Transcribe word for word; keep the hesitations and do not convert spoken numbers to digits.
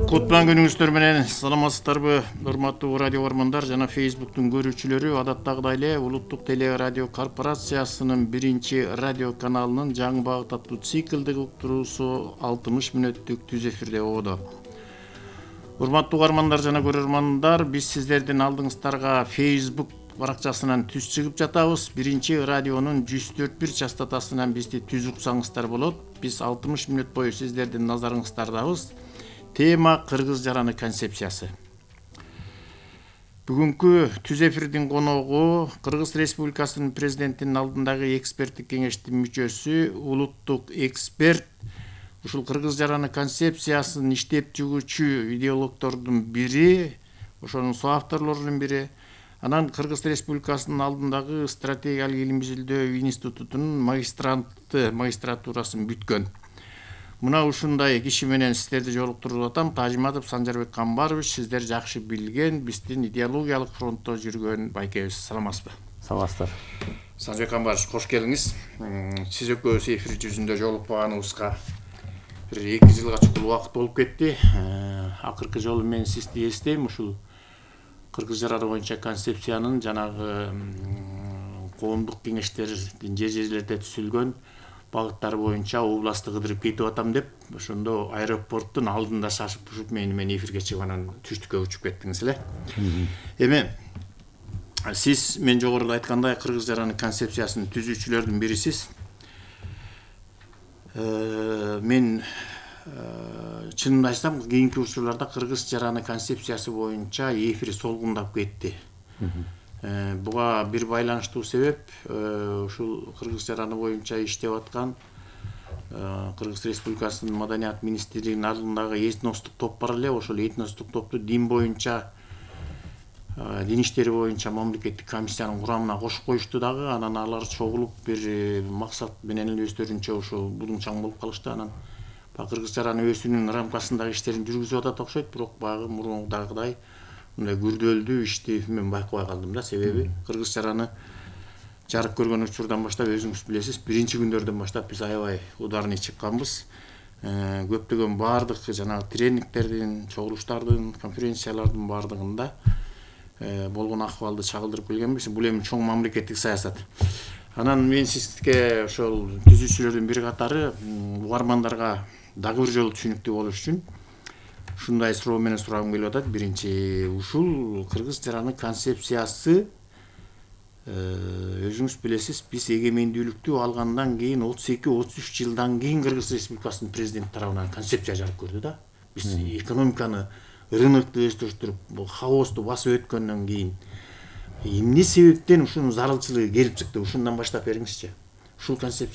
Кутман күнүңүздөр менен саламатсыздарбы, урматтуу радио көрөрмандар жана Facebooktун көрүүчүлөрү. Адаттагыдай эле Улуттук теле радио корпорациясынын биринчи радио каналынын жаңы багыт аттуу циклдик уктуруусу алтымыш мүнөттүк түз эфирде ободо. Урматтуу угармандар жана көрөрмандар, биз сиздердин алдыңыздарга Facebook баракчасынан түз чыгып жатабыз. Биринчи радионун жүз төрт бир частотасынан бизди түз уксаңыздар болот. Биз алтымыш мүнөт бою сиздердин назарыңыздардабыз. Тема кыргыз жараны концепциясы. Бүгүнкү түз эфирдин коногу Кыргыз Республикасынын президентинин алдындагы эксперттик кеңештин мүчөсү, улуттук эксперт, ушул кыргыз жараны концепциясын иштеп чыгуучу идеологдордун бири, ошонун соавторлорунун бири, анан Кыргыз Республикасынын алдындагы стратегиялык илим изилдөө институтунун магистранты, магистратурасын бүткөн. Мына ушундай киши менен сиздерди жолуктуруп атам. Тажиматов Санжарбек Камбарович, сиздер жакшы билген, биздин идеологиялык фронтто жүргөн байкебиз. Саламатсызбы? Саламатсыздар. Санжарбек Камбарович, кош келиңиз. Сиз экөөбүз эфир жүзүндө жолукпаганыбызга бир эки жылга чукул убакыт болуп кетти. Акыркы жолу мен сизди эстейм, ушул кыргыз жараны боюнча концепциянын жанагы коомдук кеңештердин жер жерлерде түзүлгөн багыттары боюнча областты кыдырып кетип атам деп, ошондо аэропорттун алдында шашып ушуп мени мен эфирге чыгып анан түштүккө учуп кеттиңиз эле. Эми сиз мен жогоруда айткандай кыргыз жараны концепциясынын түзүүчүлөрдүн бирисиз. Мен чынымды айтсам, кийинки учурларда кыргыз жараны концепциясы боюнча эфир солгундап кетти. Буга бир байланыштуу себеп ушул кыргыз жараны боюнча иштеп аткан Кыргыз Республикасынын маданият министрлигинин алдындагы этностук топ бар эле. Ошол этностук топту дин боюнча, дин иштери боюнча мамлекеттик комиссиянын курамына кошуп коюшту дагы. Анан алар чогулуп бир максат менен эле өздөрүнчө ошол будуңчаң болуп калышты. Анан кыргыз жараны өзүнүн рамкасындагы иштерин жүргүзүп атат окшойт, бирок баягы мурундагыдай мындай күрдөлдүү ишти мен байкабай калдым да. Себеби кыргыз жараны жарык көргөн учурдан баштап өзүңүз билесиз, биринчи күндөрдөн баштап биз аябай ударный чыкканбыз. Көптөгөн баардык жанагы тренингтердин, чогулуштардын, конференциялардын баардыгында болгон акыбалды чагылдырып келгенбиз. Бул эми чоң мамлекеттик саясат. Анан мен сизге ошол түзүүчүлөрдүн бир катары угармандарга дагы бир жолу түшүнүктүү болуш үчүн ушундай суроо менен сурагым келип атат. Биринчи, ушул кыргыз жараны концепциясы өзүңүз билесиз, биз эгемендүүлүктү алгандан кийин отуз эки отуз үч жылдан кийин Кыргыз Республикасынын президенти тарабынан концепция жарык көрдү да. Биз экономиканы, рынокту өздөштүрүп, хаосту басып өткөндөн кийин эмне себептен ушунун зарылчылыгы келип чыкты? Ушундан баштап бериңизчи. Ушул концепция